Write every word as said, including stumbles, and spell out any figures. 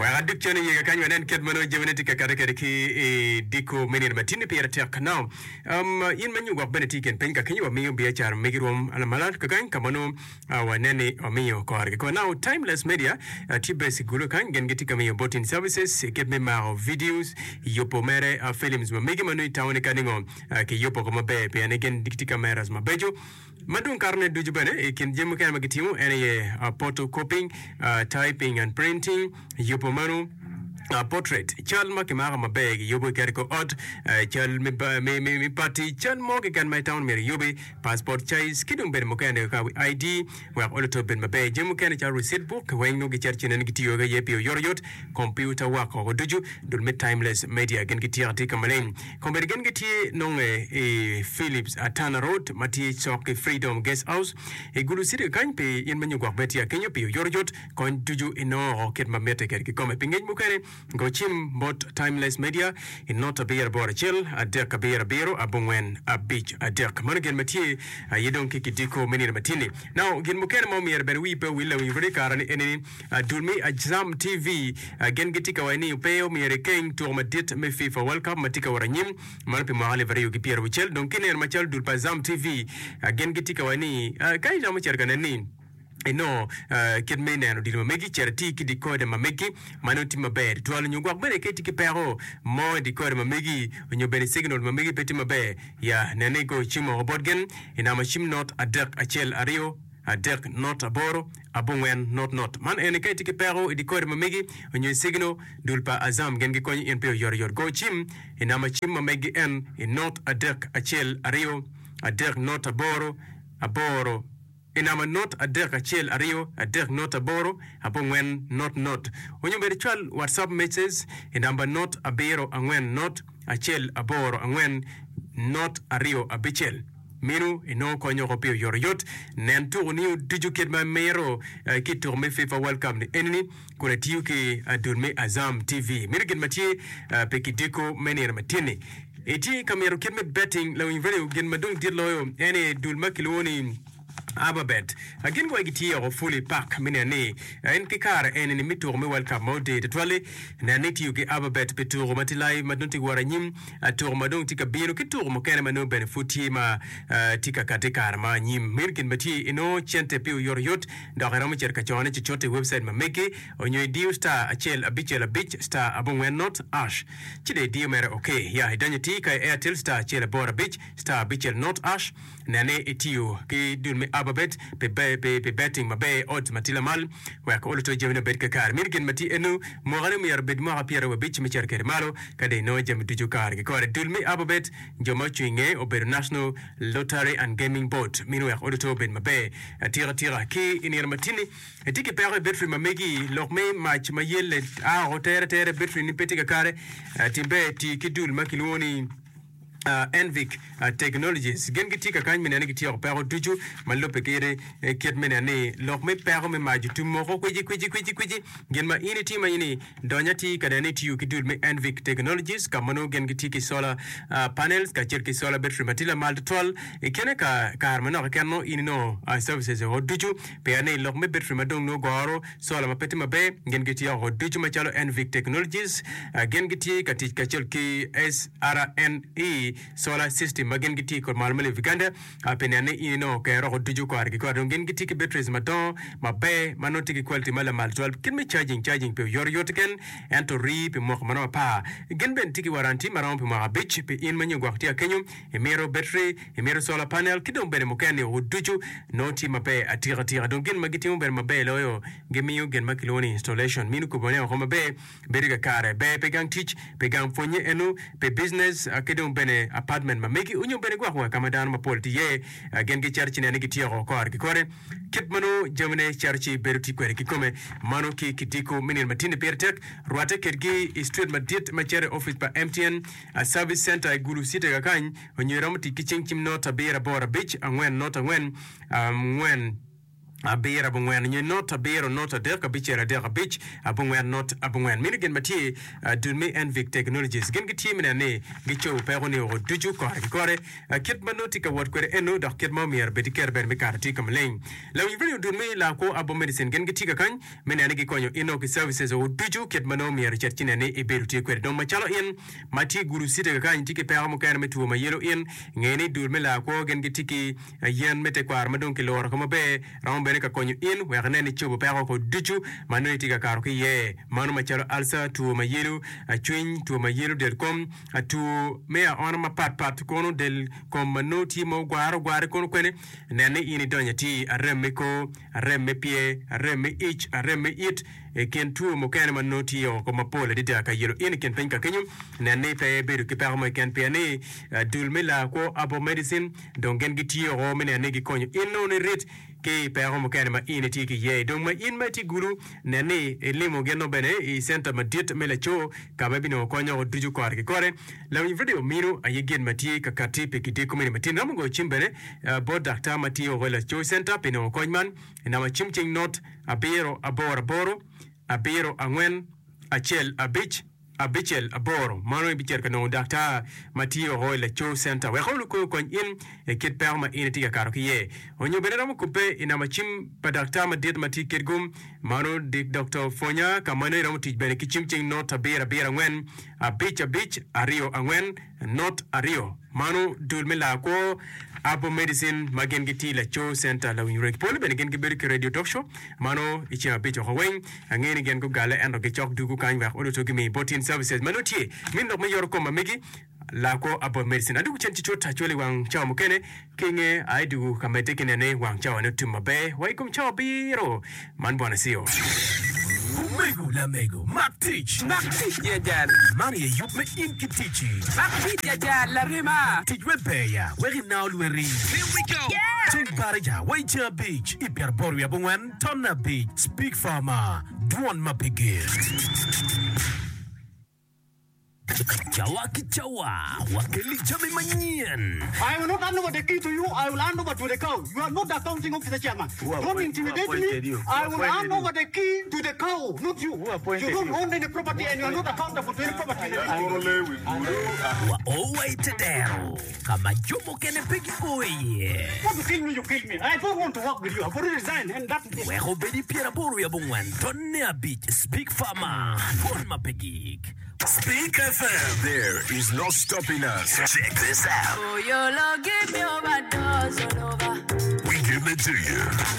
Wek aduk cen iye kakany wanen kit ma nongo jamine tye ka kati kwede ki i diko me nino matini pire tek. Now, um, in ma nyo gwok bene tye i kin piny ka kenyo wamiyo biacara megi rwom lamalal kakany ka ma nongo uh, wanen ni wamiyo kore kikome. Now, Timeless Media uh, tye based i Gulu kany, gin gitye ka miyo booting services i kit me mako videos, yubo mere uh, films ma megi ma nongo itamo ni ka ningo uh, kiyubo ko maber pien ni gin gitye cameras mabeco. Ma dong karene ducu bene i kin jami mukene ma gitimo en aye uh, photocopying, uh, typing and printing, yubo mano uh, portrait cal ma kimako maber giyubo iketo i kor ot uh, cal me, ba- me, me, me party cal mo keken ma itamo ni myero iyubi passport size ki dong bene mukene ka I D wek oloto obed maber. Jami mukene calo receipt book weng nongo gicito ci neno gitiyo iye pi oyotoyot computer work oko ducu. Dul me Timeless Media gin gitye atika ka maleng kombeddi gin gitye nonge i Philips Atana Road ma tye cok ki Freedom Guest House i Gulu City kany pi in ma nyo gwok bene tye akenyo pi oyotoyot kony ducu inongo oko kit ma mitte kwede kikome. Pi ngec mukene go cim bot Timeless Media i not abiro aboro acel adek abiro abiro abongwen abic adek. Mano gin ma tye aye dong ki kidiko me nino matini. Now, gin mukene ma omyero bene wii pe owil lawiny rwodi i kare ni eni ni dul me Azam T V gin gitye ka waco ni pe omyero ikeng tuko madit me FIFA World Cup ma tye ka wot anyim mano pi mwaka alip aryo ki pyera aucel. Dong kineno macalo dul pa Azam T V gin gitye ka waco ni ka iromo cito ka neno ni inongo uh, kit me neno odilo ma megi cito iti ki decoder ma megi ma nongo tye maber tutwal nyo gwok bene ka itye ki peko mo i decoder ma megi nyo bene signal ma megi pe tye maber ya nene igo cim oko bot gin i namba cim not adek acel aryo adek not aboro abongwen not not. Man eni ka itye ki peko i decoder ma megi nyo i signal dul pa Azam gin gikonyo in pi oyotoyot. Go cim i namba cim ma megi en i not adek acel aryo adek not aboro aboro i namba not adek acel aryo adek not aboro abongwen not not onyo bene cwal WhatsApp message i namba not abiro angwen not acel aboro angwen not aryo abicel minu inongo kony oko pi oyotoyot nen tuko ni ducu kit ma miro eh, ki tuko me FIFA World Cup ni enini kun atiyo ki dul me Azam T V. Mino gin ma tye eh, pi kidiko me nino matini itye ka mito kit me betting lawiny radio gin ma dong dit loyo en ni dul ma kilwongo ni Ababet gin gwai gitye oko fully pack mi neno ni en ki kare eni ni mi tuko me World Cup ma ode tutwalli neno ni tiyo ki Ababet pi tuko ma tye live ma dong tye wot anyim tuko ma dong tye ka bino ki tuko mukene ma nongo bene pud tye ma tye ka kati kare ma anyim. Meno gin ma tye inongo cente pi oyotoyot dok iromo cito ka cone cucut i website ma megi onyo idiyo star acel abicel abic star abongwen not hash ci dong idiyo mere ok ya idonyo ti ka i Airtel star acel aboro abic star abicel not hash nene itiyo ki dul me Ababet pi, pi, pi betting maber odds ma tye lamal wek oluto jamine obed kakare. Meno gin ma tye eno mwakane myero obed mwaka pyeraryo abic me cito kwede malo ka dong inongo jami ducu kare ki kore. Dul me Ababet jo ma ocung inge obedo National Lottery and Gaming Board mino wek oluto obed maber atika tika ki i nino matini. Itye ki peko i betri ma megi lok me mac ma yelle a oko tere tere betri ni pe tye kakare tim ber ti ki dul ma kilwongo ni uh, Envic uh, Technologies. Gin gitye kakany me neno ni gityeko peko ducu ma lubbe ki kit me neno ni lok me peko me mac otum moko kwici kwici kwici kwici. Gin ma in itimo aye ni donya ti ka neno ni itiyo ki dul me Envic Technologies ka ma nongo gin gitye ki solar uh, panels kacel ki solar battery ma tye lamal tutwal i kine ka kare manok keken nongo in inongo uh, services oko ducu pien ni lok me battery ma dong nongo goro solar ma pe tye maber gin gitye oko ducu macalo Envic Technologies uh, gin gitye ka tic kacel ki S R N E Solar System ma gin gitye kod malo me Uganda uh, pi neno ni in inongo kero oko ducu kore ki kore. Dong gin gitye ki batteries madongo maber ma nongo tye ki quality ma lamal tutwal kit me charging charging pi oyotoyot keken ento rii pi mwaka maromo apar. Gin bene tye ki warranty maromo pi mwaka abic pi in ma nyo gwok tye akenyo imito battery imito solar panel ki dong bene mukene oko ducu nongo tye maber atika tika. Dong gin ma gitimo bene maber loyo gimiyo gin ma kilwongo ni installation mino kubone oko maber bedo kakare ber pi gang tic pi gang pwonye eno pi business ki dong bene apartment ma megi onyo bene gwok wa ka ma dano mapol tye iye gin gicito ci neno ni gityeko kore ki kore kit ma nongo jamine cito ci bedo tye kwede kikome. Mano ki kidiko me nino matini pire tek rwatte kedgi i street madit ma cito i office pa M T N Service Center i Gulu City kakany onyo iromo tic ki cing cim not abiro aboro abic angwen not angwen angwen Abiro abongwen nyo not abiro not adek abicel adek abic abongwen not abongwen. Meno gin ma tye dul me Envic Technologies gin gitye me neno ni gicobo peko ni oko ducu kore ki kore kit ma nongo tye ka wot kwede eno dok kit ma omyero bed iketo bene me kato tye ka maleng. Lawiny radio dul me Lakwo Abo Medicine gin gitye ka kany me neno ni gikonyo ino ki services oko ducu kit ma nongo myero icit ci nen ni ibedo tye kwede. Dong macalo in ma tye i gudo city kakany tye ki peko mukene me two ma yelo in nge ni dul me Lakwo gin gitye ki yen me tekwaro ma dong kiluro ka maber romo bene ka konyo in wek inen ni cobo peko oko ducu ma nongo itye ka kato ki iye, mano macalo alca, two ma yelo cwiny, two ma yelo del kom, two me aona mapat pat, kono del kom ma nongo tye ma ogware ogware kono kwene. Nen ni in idonyo atir arem me kor, arem me pyer, arem me ic, arem me it, i kin two mukene ma nongo tye oko mapol adada ka yelo in i kin piny ka kenyo. Nen ni pe ibedo ki peko mo keken pien ni dul me laa kwo Herbal Medicine dong gin gitye oko me neno ni gikonyo in nongo ni rit ki i peko mukene ma in itye ki iye. Dong ma in ma itye gulu, nen ni ilimo gin-nu bene i centa madit me laco ka ma ibinongo kony oko ducu kore ki kore. Lawiny redio mino aye gin ma tye ka katti pi kidiko meno matin. Romo goyo cim bene bot daktar ma tye oko i laco centa pi nongo kony man i namba cim cing not abiro aboro aboro abiro angwen acel abic. Abicel aboro mano ibicito ka nongo daktar ma tye oko i Laco Center wek olu kony in i kit peko ma in itye ka kato ki iye. Onyo bene romo kubbe i namba cim pa daktar madit ma tye kitgum mano Dik Doctor Pwonya ka ma nongo iromo tic bene ki cim cing not abiro abiro angwen abic abic aryo angwen not aryo. Mano dul me laa kwo Abo Medicine ma gin gitye i Laco Center Lawiny Rec. Pole bene gin gibedo ki Radio Talk Show mano i ceng abic oko weng. Angeyo ni gin gugale ento gicok dugu kany wek oluto gimi bot in services ma nongo tye min lok me yoto kom ma megi laa kwo Abo Medicine. Adugu cen ci cut acwali wang cawa mukene ki nge aye dugu ka medde ki nene wang cawa ne otum maber wa i kom cawa abiro man bwana Sio. Omego lamego, mak tic! Mak tic ya jal! Man aye yub me in ki ticci. Mak tic ya jal, larema! Tic me ber-ya wek inao lweti. Here we go! Yeah! Ceng baraja wa i ceng abic i pyeraboro wiye abongwen tonne abic. Speak Farmer, Dwon ma pe gik. Cawa ki cawa, wakelli jami manyen. I will not hand over the key to you, I will hand over to the cow. You are not the accounting officer chairman. Don't intimidate me. I will hand over the key to the cow, not you. You don't own any property and you are not accountable to any property in the district. Wa o wa i te dero ka ma jo mukene pe gio iye. Want to kill me, you kill me. I don't want to work with you. I've already resigned and that is it. Wek obed i pyeraboro wiye abongwen tonne abic. Speak Farmer, Pwony ma pe gik. Speak F M. There is no stopping us. Check this out. We give it to you.